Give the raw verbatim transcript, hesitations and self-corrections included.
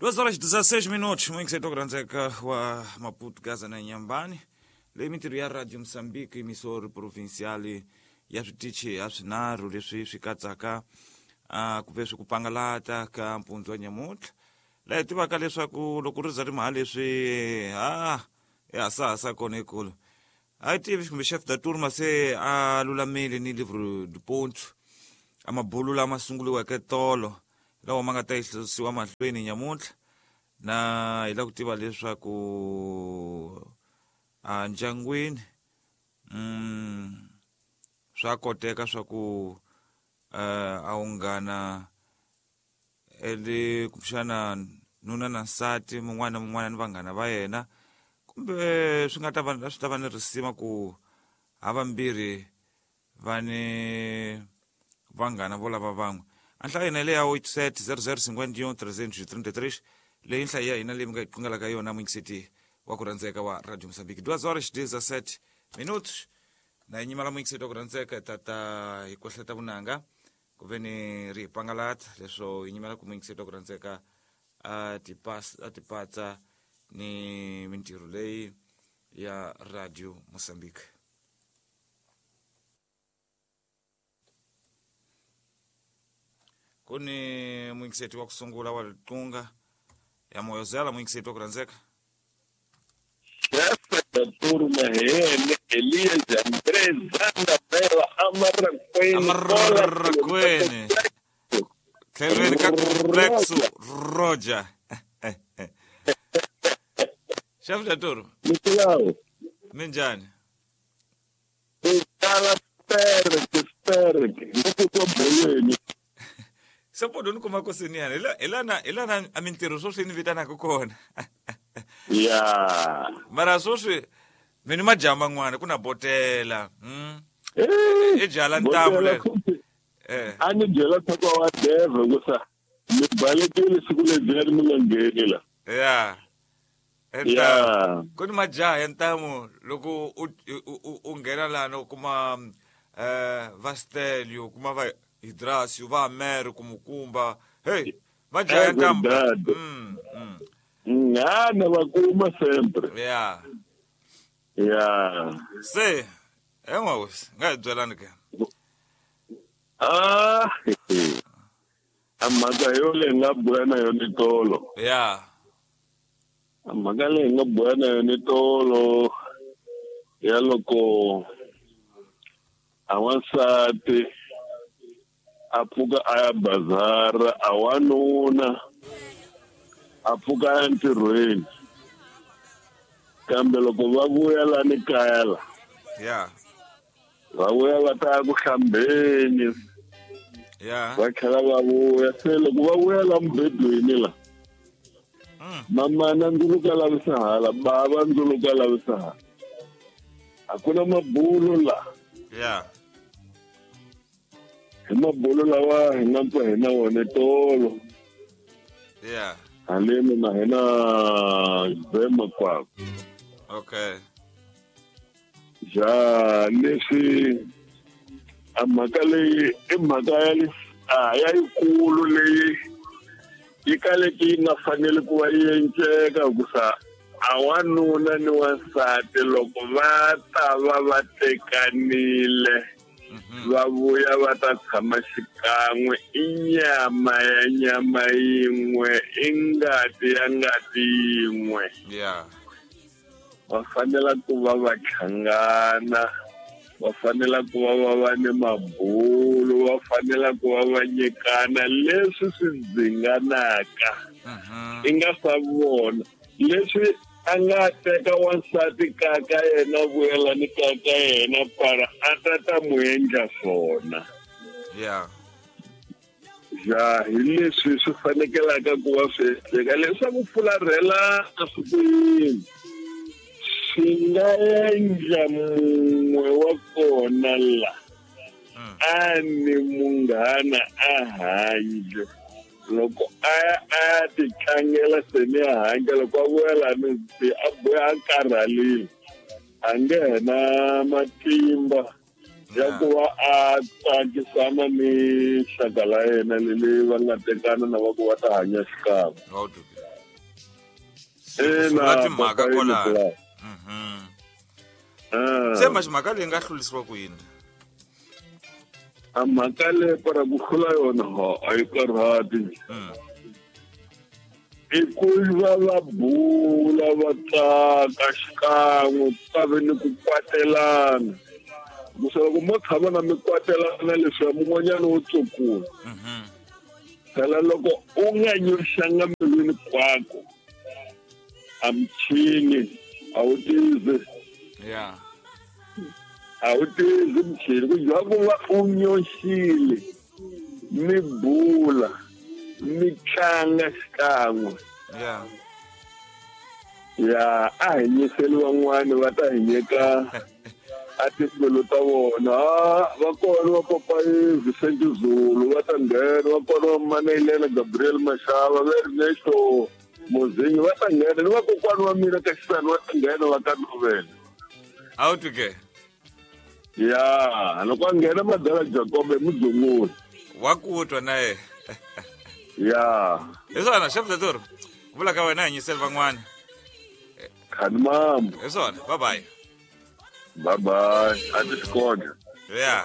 Duas horas e dezesseis minutos, muito cedo kuranzeka wa Maputo, Gaza na Inhambane. Leyi mintirho ya Radio Mozambique, emissor provincial ya switichi ya swinharhu leswi swi katsaka uh, ku ve swi ku pangalata ka mpundzu wa nyamuntlha. Laha hi tivaka leswaku loko ri za ri mha leswi ha ya sahasa kona ekulu. A yi tivi kumbe chef da turma se a lulamile ni livre du ponto a mabulu lama sunguriweke tolo lawa ma nga ta yisiwa mahlweni nyamuntlha, na hi lava ku tiva leswaku a ndyangwini mm, swa koteka swa ku uh, a ungana ele kumbexana nuna na nsati mun'wana na mun'wana ni vanghana va yena, kumbe swi nga ta va swi ta va ni risima ku havambirhi va ni vanghana vo lava van'we. A nhlayo hina leyi ya oito sete zero zero cinquenta e um trezentos e trinta e três leyi nhlayo ya hina leyi mi nga yi qungelaka yona muyingiseti wa ku rhandzeka wa Radio Mozambique. Duas horas dezessete minutos na hi nyimela muyingiseti wa ku rhandzeka hi tata hi kwehleta vunanga ku ve ni ri hi pangalata leswo hi nyimela ku muyingiseti wa ku rhandzeka a tipas a tipatsa ni mintirho leyi ya Radio Mozambique. Ku ni muyingiseti wa ku sungula wa Liqunga ya Moyozela, muyingiseti wa ku rhandzeka. Chefe da turma N, Elias André Zanda Bela Amarraquene Amarraquene tlhelweni ka complexo Roger. Chef da turma, Nicolau, minjhani? Tala perke perke, loko bolweni. Se podo ni kuma ku siniyana hi la hi lana hi lana a mintirho sweswi ni vitanaka kona. Ya. Mara sweswi mi ni majaha man'wana ku na botela mm. Eh, I byala ntamu botela lero futhi. eh A ni byela tata wa Deve ku sa mi balekile siku ledyiya mi nga ngheni la. ya ntamu Ya. ku ni majaha ya ntamu loko u u u- u nghena lana u kuma eh va Stelio u kuma va Hidrasio va Mer kumukumba hey majaha ya ntamu Verdade. mm, mm. Ngana va kuma sempre. ya Ya. se en'wahosi nga hi byelani ke. Ah. A mhaka yo leyi nga bula na yona tolo. ya A mhaka leyi nga bula na yona tolo ya loko a wansati a pfuka a ya bazara, a wanuna a pfuka a ya ntirhweni, kambe loko va vuya lani kaya la ya va vuya va ta ya ku hlambeni, ya va tlhela va vuya. Se loko va vuya la mubedweni la, mm. mamana ndzuluka lavisa hala, bava ndzuluka lavisa hala, a ku na mabulo la. ya Hi mabulo lawa hi nga pfa hi na wona tolo ya haleni na hina Zema kwako. okay Ja leswi a mhaka leyi i mhaka ya le a ya yikulu leyi yi kaleke yi nga faneli ku va yi enceka hikusa a wanuna ni wansati loko va ta va va tekanile Mhm. va vuya va ta tshama xikan'we, i nyama ya nyama yin'we, i ngati ya ngati yin'we. ya Va fanela ku va va hlangana, va fanela ku va va va ni mabulo, va fanela ku va va nyikana leswi swi dzinganaka Mhm. i nga swa vona leswi a nga teka wansati ka ka yena vuyelani ka ka yena para a ta ta mu endla swona. ya Ja hi leswi swi fanekelaka ku va swi endleka leswaku fularhelana swi ku yini swi nga endla mun'we wa kona la Mm. a ni munghana a handle loko a ya a ya ti tlangela se ni a handle loko a vuya lani se a vuya a karhalile a nge he na matimba ya ku va a tsakisana ni xaka la yena leli va nga tekana na va ku va ta hanya xikan'we. Ngawudubi. Sungula Ina timhaka papa kwalano. Yini Mhm. Ah. Se manje mhaka leyi nga hlurisiwa ku yini? A mhaka leyi para ku hlula yona ha a yi karhati. Mm. I ku va va bula va tsaka xikan'we ku ka ve ni ku kwatelana. Kusa loko mo tshama na mi kwatelana leswiya mun'wanyana wo tsukula. Mhm. Phela loko u nga nyoxanga mbilwini kwako a michini a wu tizi Yeah. a wu tizi michini ku dya ku va u nyoxile mi bula mi tlanga xikan'we. Yeah. Ya a hi nyiseli van'wani va ta hi nyika a timbilu ta vona. Ah, va kona va papayi Vicente Zulu va ta nghena, va kona va Manailela Gabriel Mashava va Ernesto Mozingi va ta nghena, ni vakokwani va mina ka xisani va ta nghena va ka novela. A wu twi ke? Ya loko a nghena madala Jacob hi mudzunguli. Wa ku twa na yena. Ya Hi swona chef Dlatoro. Vula ka wena hi nyiseli van'wana. khani mambo. Hi swona. Bye bye. Bye bye. A ti xikoda. Yeah.